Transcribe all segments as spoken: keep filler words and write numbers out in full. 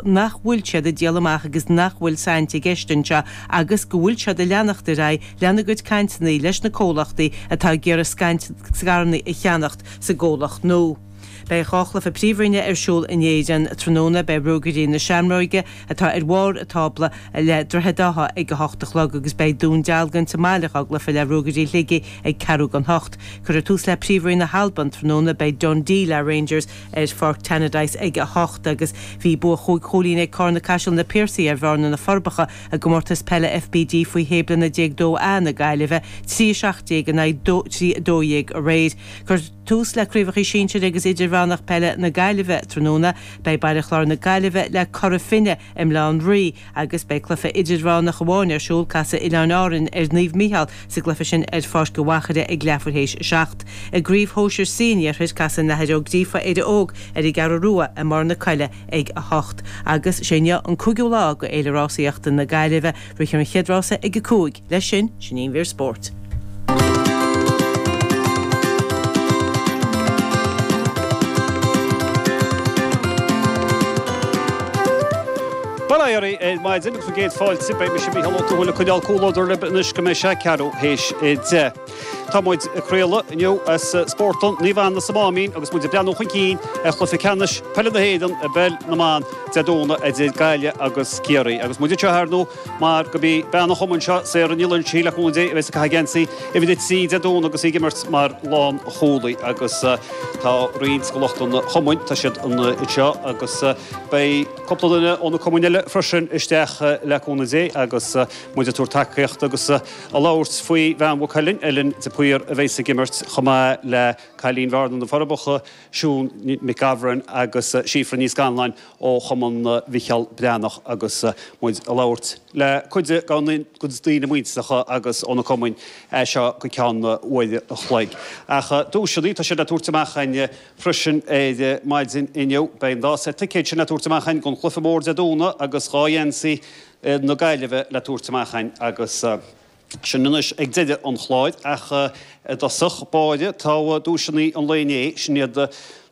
nach bhfuil siad ag díol amach agus nach bhfuil saint i gceist anseo agus go bhfuil siad ag leanacht ar aghaidh lena gcuid cainteanna leis na comhlachtaí atá ag iarraidh scaireanna a cheannacht sa gcomhlacht nua. Beidh dhá chluiche Príomhroinne ar siúl in Éirinn tráthnóna, beidh Ruagairí na Seamróige atá ar bharr an tábla le Droichead Átha ag a hocht a chlog agus beidh Dún Dealgan sa mbaile dhá gcluiche le Ruagairí Shligigh ag ceathrú don hocht. Cuirfear tús le Príomhroinn na hAlban tráthnóna, beidh Dundee le Rangers ar Pháirc Tannadice ag a hocht agus bhí bua chúig chúilín ag Carna Caiseal na Piarsaigh ar Bhearna na Forbacha i gcomórtas peile FBD faoi shé bliana déag dó A na Gaillimhe, trí a seacht déag in aghaidh trí a dó dhéag aréir. Cuirfear tús le Craobhacha Sinsir agus Idirmheánach Peile na Gaillimhe tráthnóna. Beidh Baile Chláir na Gaillimhe le Cora Finne i mBaile Átha an Rí agus beidh cluiche idirmheánach amháin ar siúl, casfaidh Oileáin Árann ar Naomh Mícheál sa gcluiche sin ar Pháirc an Mhachaire ag leathuair théis a seacht. I gCraobh Shóisir C an Iarthair, casfaidh an Athair Ó Gríofa Éire Óg ar an gCeathrú Rua i mBarr na Coille ag a hocht. Agus sé inniu an cúigiú lá de Fhéile Rásaíochta na Gaillimhe. Rithfear an chéad rása ag a cúig. Leis sin, sin í an mhír spóirt. Bail ó Dhia oraibh ar maidin agus bhur gcéad fáilte. Beidh mise Mícheál Ó Tuathail ag coinneáil comhluadar libh anois go mbeidh sé ceathrú théis a deich. Tá muid ag craoladh inniu as Spórtlann Naomh Anna sa Máimín agus muid ag breathnú chun cinn ar chluiche ceannais peile na hÉireann i bpeil na mban Dé Domhnaigh idir Gaillimh agus Ciarraí. Agus muid anseo ar ndóigh mar gurb í bean an chumainn seo, Sarah Ní Loingsigh, le cúnamh Dé, a bheas ag caitheamh geansaí uimhir a trí Dé Domhnaigh agus í ag imirt mar lánchúlaí. Agus tá roinnt de lucht an chumainn, tá siad anseo agus beidh cúpla duine ó na cumainn eile freisin isteach le cúnamh Dé agus muid ag tabhairt tacaíocht agus ag labhairt faoi bhean Mhaigh Cuilinn, Ellen de Paor a bheas ag imirt chomh maith le cailín Bhearna na Forbacha, Siún Nic Gabhráin agus Síofra Ní Scanláin ó Chumann Mhicheál Breathnach agus muid ag labhairt le cuid de na daoine muinteartha agus ó na cumainn seo go ceann uair a chloig. Ach duaiseanna, tá siad le tabhairt amach againn freisin ar maidin inniu. Beidh an dá seit ticéad sin le tabhairt amach againn don chluiche mór Dé Domhnaigh agus dhá gheansaí na Gaillimhe le tabhairt amach againn agus sin anois ag deireadh an chláir ach i dtosach báire tá duaiseanna an lae inné, sin iad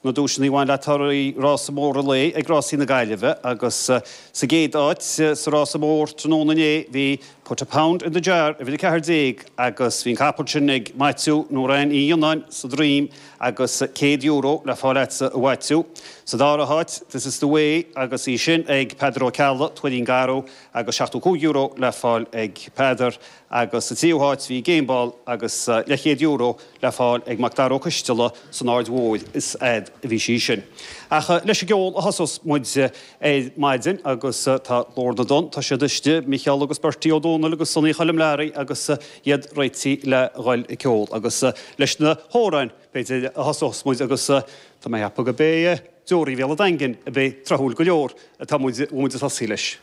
na duaiseanna a bhain le torthaí rása mór an lae ag Rásaí na Gaillimhe agus sa gcéad áit sa rása mór tráthnóna inné bhí Put a Pound in the Jar uimhir a ceathair déag agus bhí an capall sin ag Maitiú nó Ryan Uí Fhionnáin sa Droim agus céad euro le fáil agatsa a Mhaitiú. Sa dara háit This is the Way agus í sin ag Peadar Ó Ceallaigh, Tuairín Garbh agus seachtó cúig euro le fáil ag Peadar agus sa tríú háit bhí Gameball agus leathchéad euro le fáil ag Mac Dara Ó Coisteala san Aird Mhóir is fhad a bhí sí sin. Ach leis an gceol a thosós muid ar maidin agus tá Glór na dTonn, tá siad istigh, Micheál agus Bertie Ó Dónaill agus Sonaí Choilm Learaí agus iad réitithe le dhul ag ceol agus leis na hamhráin b'fhéidir a thosós muid agus tá mé ag ceapadh go b'é Deoraí Bhéal an Daingin a bheidh tráthúil go leor atá muid, bhfuil muid ag tosaí leis.